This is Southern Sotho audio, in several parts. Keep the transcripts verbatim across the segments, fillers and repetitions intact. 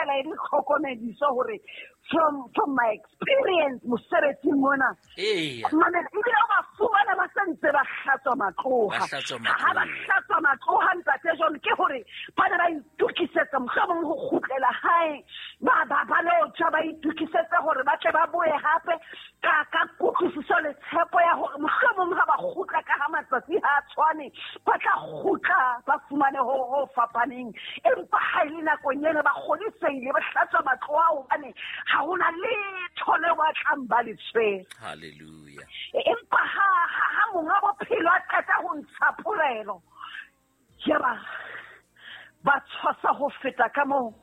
fela e le tlhokomediso hore from from my experience mosebetsing mona. Eya. Mamela, ebile o ba fumana ba sa ntse ba hlatswa matloha. Ba hlatswa Ha ba matloha. hlatswa matloha, ntate John, ke hore ba ne ba itokisetsa mohlomong ho kgutlela hae. Ba ba ba lo tjha ba itokisetse hore ba tle ba boye hape ka ka kutlwisiso le tshepo ya hore mohlomong ha ba kgutla ka ha matsatsi ha a tshwane, ba tla kgutla ba fumane ho ho fapaneng. Empa ha e le nakong ena ba kgodisehile, ba hlatswa matloha hobane ha hona letho leo ba tlang ba le tshwere. Hallelujah. Empa ha ha ha monga bophelo a qeta ho ntsha polelo, yaba ba tshwasa ho feta ka moo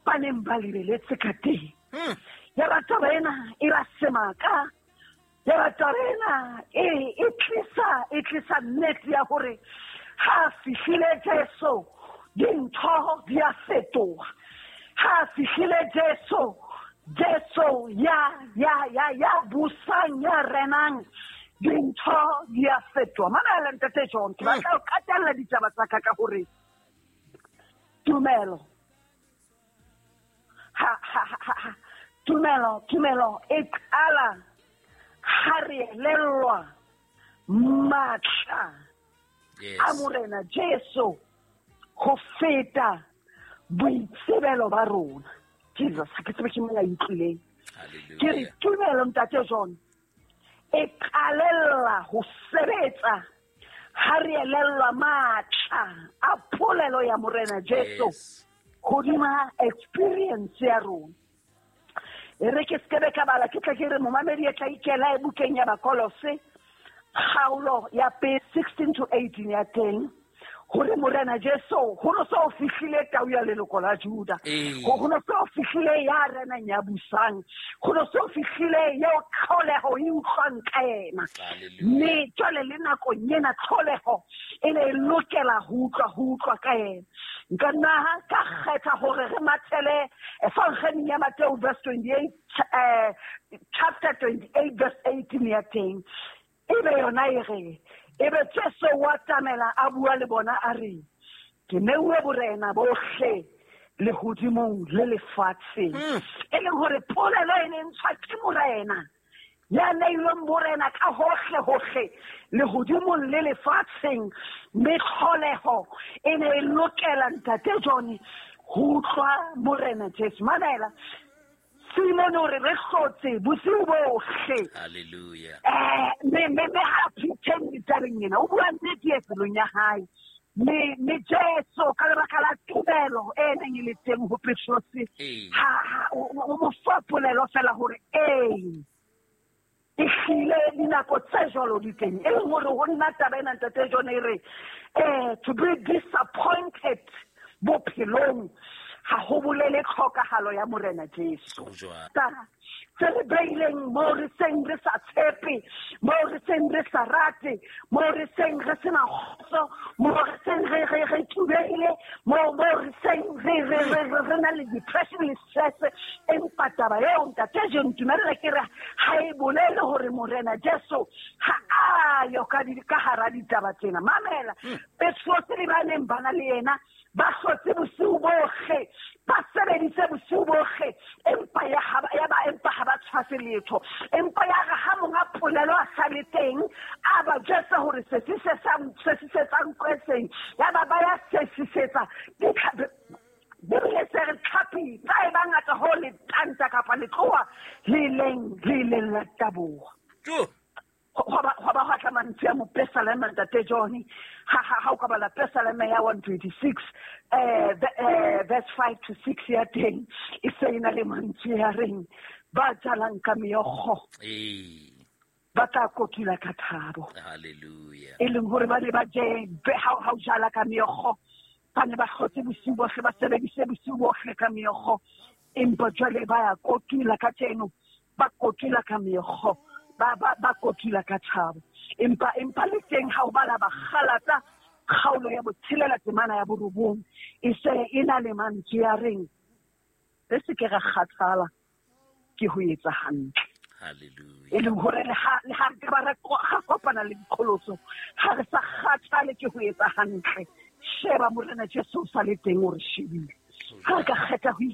ba neng ba lebeletse ka teng. Hmm. Yaba taba ena e ba semaka. Yaba taba ena e, e tlisa, e tlisa nnete ya hore ha fihlile Jesu dintho di a fetoha. Ha fihlile Jesu, Jesu ya, ya, ya, ya busang, ya renang, dintho di a fetoha. Mamela ntate John, ke batla ho qetella ditaba tsa ka ka hore tumelo ha, ha, ha, ha, tumelo, tumelo e qala ha re elellwa matla Yes. a Morena Jesu ho feta boitsebelo ba rona. Jesus, ha ke tsebe ke mang a utlwileng. Ke re Hallelujah. tumelo ntate John e qalella ho sebetsa ha re elellwa matla a polelo ya Morena Jesu Yes. hodima experience ya rona. E re ke skebe ka bala, ke tla ke re momamedi e tla ikela e bukeng ya Bakolose, kgaolo ya pele, sixteen to eighteen ya teng, hore Morena Jesu ho no so fihlile tau ya leloko la Juda. Ee. Ho no so fihlile ya renang ya busang. Ho no so fihlile eo tlholeho e utlwang ka yena. Hallelujah. Mme jwale le nakong ena tlholeho e ne e lokela ho utlwa, ho utlwa ka yena. Nka nna ka kgetha hore re mathele Evangeleng ya Mateo verse twenty-eight, eh, chapter twenty-eight verse eighteen ya teng. Ebe yona e re, ebe Jesu wa tamela a bua le bona a re, ke neuwe borena bohle lehodimong le lefatsheng. Hmm. E leng hore polelo e ne ntshwa ke Morena ya neilweng borena ka hohle hohle lehodimong le lefatsheng, mme tlholeho e ne e lokela ntate John ho utlwa Morena Jesu. Mamela, Simon o re re hlotse bosiu bohle. Hallelujah. Eh, me, me, me ha pretend ditabeng ena, o bua nnete e pelong ya hae. Me, me Jesu ka lebaka la tumelo e neng e le teng ho Petrose, Ee. ha, ha, o, o mo fa polelo fela hore ee, ehlile dinako tse jwalo di teng. E leng hore ho nna taba ena ntate John e re, eh, to be disappointed bophelong ha ho bolele tlhokahalo ya Morena Jesu. Ho jwalo. Ta tse re beileng moo re seng re sa tshepe, moo re seng re sa rate, moo re seng re sena kgotso, moo re seng re, re, re thubehile, moo, moo re seng re, re, re, re, re na le depression le stress. Empa taba eo ntate John, ntumelle ke re ha e bolele hore Morena Jesu ha a yo ka di, ka hara ditaba tsena. Mamela, Hmm. Petrose le ba neng ba na le yena ba hlotse bosiu bohle, ba sebeditse bosiu bohle, empa ya ha ba, ya ba, empa ha ba tshwase letho. Empa ya re ha monga polelo a sa le teng, a ba jwetsa hore se se se sa, se se se tsang kweseng, ya ba ba ya sesisetsa ditlhapi. Bibele se re tlhapi tsa e ba ngata ho le tanta kapa letlowa le leng, le leng la taboha. Jo. Ho ba, ho ba hwa tla mantswe a mopesaleme ntate John. Ha, ha, ha o ka bala pesaleme ya one twenty-six, eh, the, eh, verse five to six ya teng, e se e na le mantswe ya reng, ba jalang ka meokgo, Ee. ba tla kotula ka thabo. Hallelujah. E leng hore ba ne ba je, be, ha, ha o jala ka meokgo, ba ne ba hlotse bosiu bohle, ba sebedise bosiu bohle ka meokgo. Empa jwale ba ya kotula kajeno, ba kotula ka meokgo, ba, ba, ba kotula ka thabo. Empa, empa le teng ha o bala Bakgalata, kgaolo ya botshelela temana ya borobong, e se e na le mantswe a reng, re se ke ra kgathala ke ho etsa hantle. Hallelujah. E leng hore le ha, le ha re ka ba ra ko-, ra kopana le diqholotso, ha re sa kgathale ke ho etsa hantle. Sheba Morena Jesu o sa le teng o re shebile. Ha re ka kgetha ho